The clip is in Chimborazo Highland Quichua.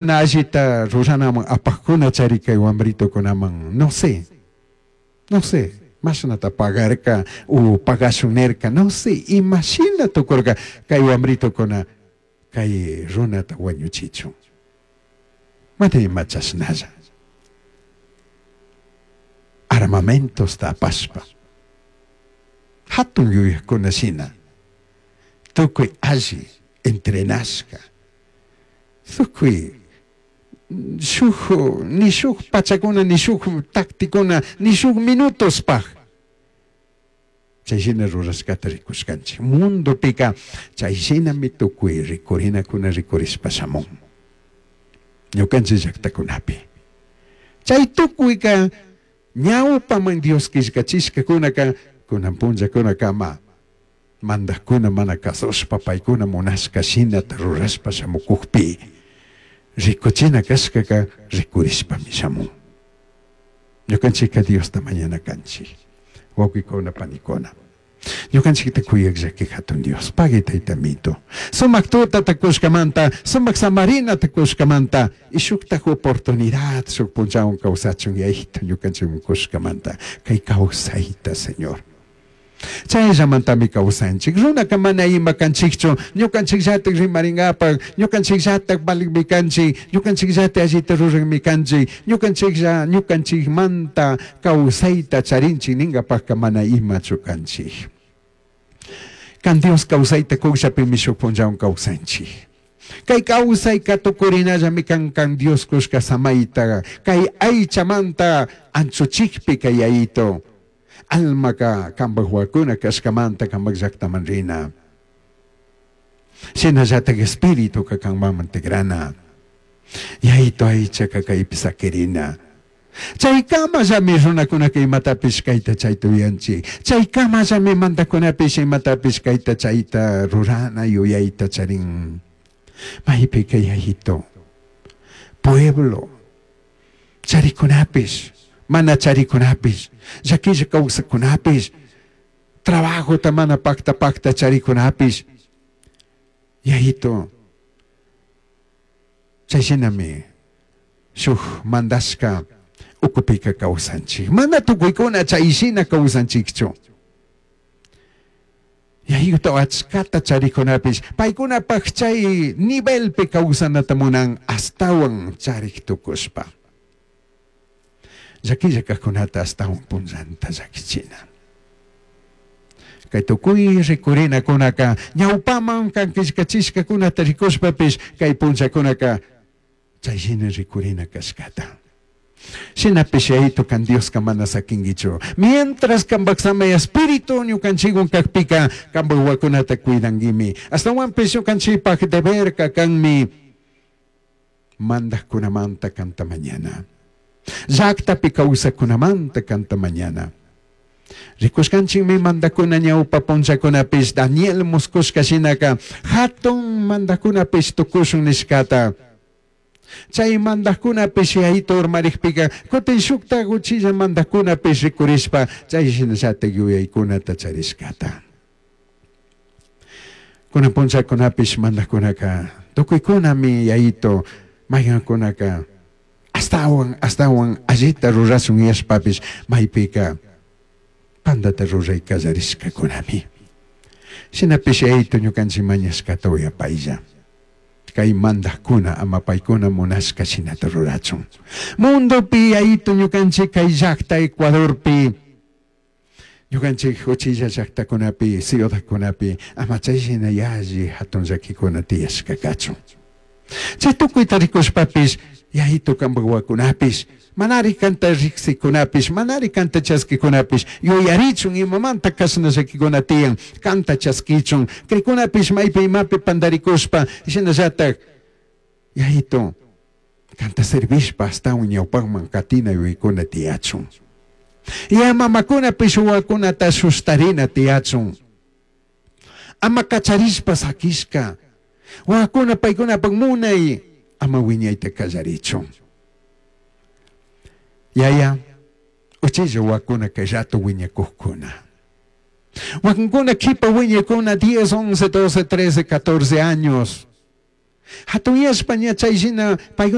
Mana allita ruranaman apajcuna chari cai huambritocunaman, no sé, no sé, mashnata pagarca o pagashun nirca, no sé, ima shina tucurca cai huambritocuna cai runata huañuchichun. Mana ima chashnalla. Armamentosta apashpa, jatun yuyajcuna shina, tucui alli entrenashca, Tucui shuj ni shuj pachacuna, ni shuj tacticuna, ni shuj minutospaj chai shina rurashcata ricushcanchij. Mundopica chai shinami tucui ricurinacuna ricurishpa shamun ñucanchij llajtacunapi. Chai tucuica ñaupaman Dios quillcachishcacunaca cunan punllacunacama Mandajcuna mana cazushpa paicuna munashca shinata rurashpa shamucujpi, ricuchina cashcaca ricurishpami shamun. Ñucanchijca Diosta mañana canchij, huauquicuna, panicuna. Ñucanchijta cuyaj llaqui jatun Dios, pagui Taita Amito. Sumaj tutata cushcamanta, sumaj samarinata cushcamanta, y shujtaj oportunidad shuj punllahuan causachun Yayaita ñucanchijman cushcamanta, cai causaita, Señor. Chaillamantami causanchij. Runaca mana ima canchijchu, ñucanchijllataj rimaringapaj, ñucanchijllataj valijmi canchij, ñucanchijllataj allita rurajmi canchij, ñucanchijlla ñucanchijmanta causaita charinchij ningapajca mana imachu canchij. Can Dios causaita cujllapimi shuj punllahuan causanchij. Cai causaica tucurinallami can, can Dios cushca samaita, cai aichamanta anchuchijpica Yaito. Almaca cambaj huacuna cashcamanta cambaj llajtaman rina. Shinallataj espirituca canmanman tigrana. Yaito aichaca caipi saquirina. Chaicamallami runacunaca imatapish caita chaita uyanchij. Chaicamallami mandacunapish imatapish caita chaita rurana yuyaita charin. Maipica Yaito, pueblo, Charicunapish, mana charicunapish, llaquilla causacunapish, trabajota mana pacta pacta charicunapish, Yayito, chai shinami shuj mandashca ucupica causanchij. Mana tucuicuna chai shina causanchijchu. Yayuta achcata charicunapish paicunapaj chai nivelpi causanata munan ashtahuan charij tucushpa. Llaquilla cajcunata ashtahuan punllanta llaquichina. Cai tucui ricurinacunaca ñaupaman can quillcachishcacunata ricushpapish cai punllacunaca Chai shina ricurina cashcata. Shinapish Yayitu can Diosca mana saquinguichu. Mientras cambaj Samai Espíritu ñucanchihuan cajpica, cambaj huahuacunata cuidanguimi. Ashtahuanpish ñucanchipaj deberca canmi mandajcunamanta canta mañana. Llactapi causajcunamanta canta mañana. Ricushcanchijmi mandajcuna ñaupa punllacunapish Daniel muscushca shinaca jatun mandajcunapish tucushun nishcata. Chai mandajcunapish yaita urmarijpica cutin shujtaj uchilla mandajcunapish ricurishpa chai shinallataj yuyaicunata charishcata. Cunan punllacunapish mandajcunaca tucuicunami yaito maijancunaca Ashtahuan ashtahuan allita rurashun yashpapish maipica pandata rurai callarishcacunami. Shinapish Yayitu ñucanchij mañashcata uyapailla. Cai mandajcuna ama paicuna munashca shinata rurachun. Mundopi Yayitu ñucanchij cai llajta Ecuadorpi, ñucanchij uchilla llajtacunapi, ciudadcunapi ama chai shina yalli jatun llaquicuna tiyashca cachun. Chai tucuita ricushpapish, Yayitu cambaj huacunapish, manari canta rijsicunapish, manari canta chasquicunapish yuyarichun imamanta cashna llaquicuna tiyan, canta chasquichun, cricunapish maipi imapi pandaricushpa, shinallataj Yayitu canta servishpa ashtahuan ñaupajman catina yuyaicuna tiyachun. Ya mamacunapish huahuacunata sustarina tiyachun. Ama cacharishpa saquishca huahuacuna paicunapaj munai ama huiñaita callarichun. Yaya, uchilla huahuacuna cai rato huiñacujcuna. Huaquincuna quipa huiñacuna diez, once, doce, trece, catorce años. Jatunyashpa ña chay shina.